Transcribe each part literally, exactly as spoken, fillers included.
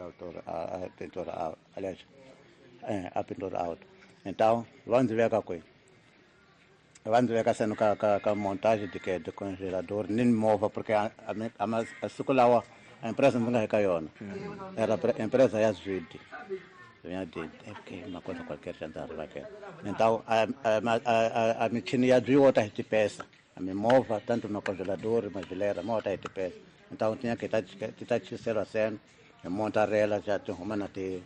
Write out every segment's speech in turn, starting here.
autor, a, a pintura, aliás, é, a pintura auto. Então, vamos ver a coisa. Vamos ver sendo ka ka ka montagem de que de congelador, nem mova porque a a a, a circulava a empresa não ganha caiona. Era a empresa ya Zwide. Vinha de é porque uma coisa qualquer já andava aqui. Então a a a a michini ya byiwota hi tipesa. A mova tanto no congelador, mas geleira, mota hi tipesa. Então tinha que estar tá tá sendo, montarela já tem uma na te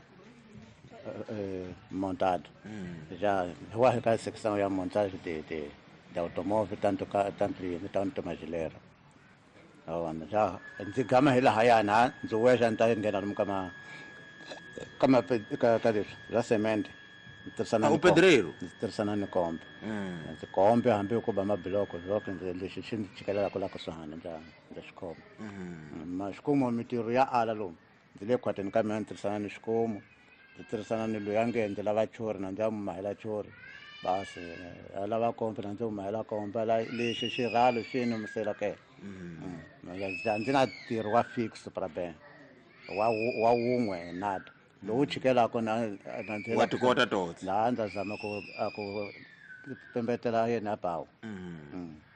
montado. Hum. Já eu acho que a secção é a montagem de de, de automóvel tanto tanto tanto magileira. Já ndzi gama hi laha na ndzi wexa ni ta nghena lomu ka ma ka ma ka ka leswi bya cement tirhisana u pedreiro ndzi tirhisana ni kombe ndzi kombe hambi ku ba mabiloko loko ndzi lexi xi ndzi chikelelaka la kusuhani ndza ndza xikhoma ma xikomo mitirho ya ala lomu ndzi le khwatini ka mina ndzi tirhisana ni xikomo ndzi tirhisana ni loyi a nge ndzi lava chori na ndzi ya mahela chori basi a lava kombe na ndzi mahela kombe la lexi xirhalo xi ni musela ke ndzi na ntirho wa fix para bem wa wa wun'we nada lowu chikelaka na na ndzi wa tikota totse la ndza zama ku ku pembetela yena bawo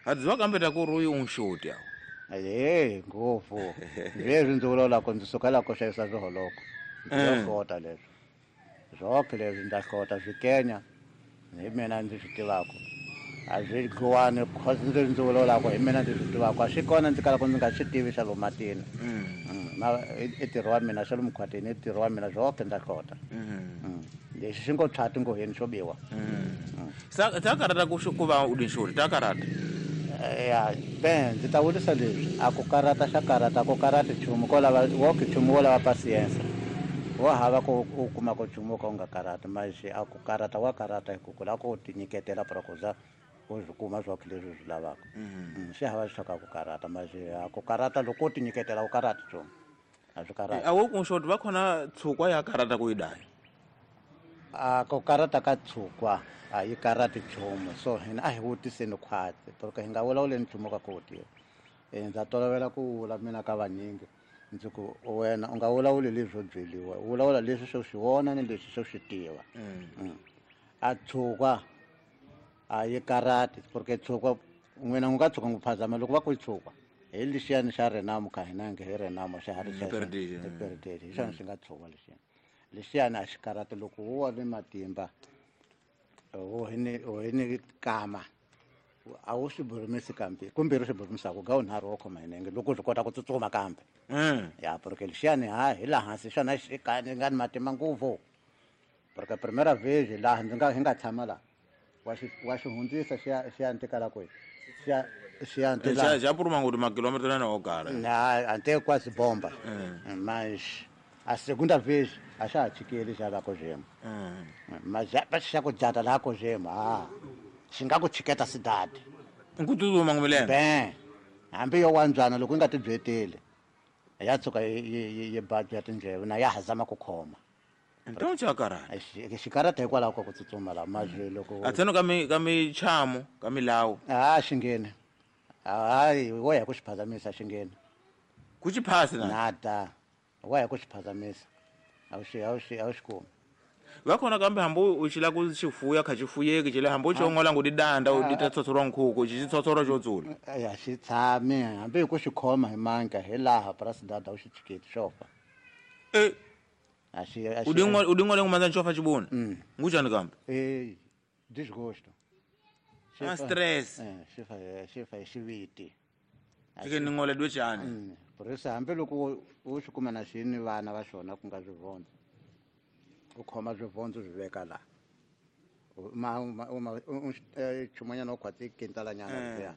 a dziva kambe ta ku ri uyu unxoti awu eh ngopfu leswi ndzi vulavula ku ndzi suka la ku xavisa swiholoko ndzi hlota leswi swoke leswi ndza hlota swikenya hi mina ndzi swi tivaka a swi dluwani cause ndzi ndzi vulavulaka hi mina ndzi swi tivaka a swi kona ndzi kalaka ndzi nga swi tivi xa lomu matini na i ntirho wa mina xa lomu khwatini i ntirho wa mina swoke ndza hlota lexi xi ngo tshwati ngoheni xo biwa sa ta karata ku ku va u dinxoti ta karata ya ben ndzi ta vurisa leswi a ku karata xa karata ku karati nchumu ko lava woke nchumu wo lava pasiensa wo hava ku u kuma ku nchumu wo ka u nga karati maxi a ku karata wa karata hi ku ku lava ku tinyiketela para ku za u swi kuma swoke leswi u swi lavaka swi hava swi ka ku karata maxi a ku karata loko u tinyiketela u karati nchumu a swi karati a wo ku nxoti va khona tshukwa ya karata ku yi daya a ku karata ka tshukwa a yi karati nchumu so hina a hi vutiseni khwatsi porque hi nga vulavuleni nchumu ka ku wu tiva ndza tolovela ku vula mina ka vanyingi ndzi ku wena u nga vulavuli leswi swo byeliwa u vulavula leswi swo swi vona ni leswi swo swi tiva a tshukwa a yi karati porque tshukwa n'wina n'wi nga tshuka n'wi phazama loko va ku yi tshukwa hi lexiyani xa Renamo ka hina nge hi Renamo xa ha ri xa hi xona xi nga tshukwa lexiyani lexiyani a xi karati loko wo wa ni matimba wo hi ni wo hi ni kama a wu swi burumisi kambe kumbe ri swi burumisaka ga wunharhu wo khoma hi nenge loko u swi kota ku tsutsuma kambe ya porque lexiyani ha hi laha hansi xona xi nga ni matimba ngopfu porque primera vez laha ndzi nga hi nga tshama laha wa xi wa xi hundzisa xi ya xi ya ntikala kwihi xi ya xi ya ntikala xa puruma ngoti makilometro na wo karhi na ante quase bomba mas a segunda vez a xa ha chikeli xa la ko mas xa ku jata la ko ah xi nga ku chiketa cidade ku tsutsuma ngumilenge ben hambi yo wandzana loko yi nga tibyeteli ya tshuka yi yi badya tindleve na ya ha zama ku khoma então xa karata xikarata hikwalaho ka ku tsutsuma la mazwi loko a tseno ka mi ka michamo ka milawu a xi ngheni hayi wo ya ku xi phazamisa xi ngheni ku xi phasi na nada wo ya ku xi phazamisa a wu xi a wu xi a wu xi kumi va khona kambe hambi u xi lava ku xi fuya kha xi fuyeki xi le hambi u xi ongola ngo didanda u dita tshotsho nkhuku xi tshotsho xo dzula ya xi tshami hambi hi ku xi khoma hi manka hi laha president a wu xi chiketi xo fa e a xi u dingo u dingo le ngumandza xo fa xibuna ngujani kambe eh disgosto a stress eh xi fa xi fa xiviti xi ni ngole dwe xani por isso hambi loko u xi kuma na xi ni vana va xona ku nga swivondza u khoma swivondza swi veka laha ma ma chumanyana u khwatsi kintalanyana ya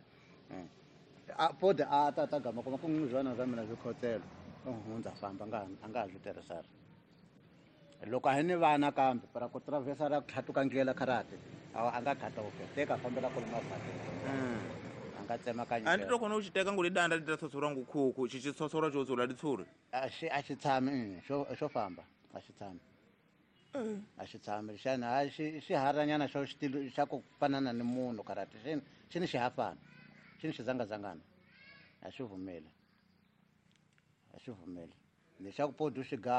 a pode a ta ta gama kuma ku n'wi zwana swa mina swi khotselo u hundza famba nga a nga ha swi tirhisari loko a hi ni vana kambe para ku travesa ra tlhatuka ndlela karate a nga khata teka fambela kule maphateni a nga tsemakanya a ndi to kona u xi teka ngo lidanda li ta tshotsho ngu khuku xi xi tshotsho xo dzula ditshuri a xi a xi tshami xo xo famba a xi tshami a xi tshami xana a xi xi haranyana xo xitilo xa ku fanana ni munhu karate xi xi ni xihafana xi ni xizangazangana a xi vumeli a xi vumeli lexaku podu xi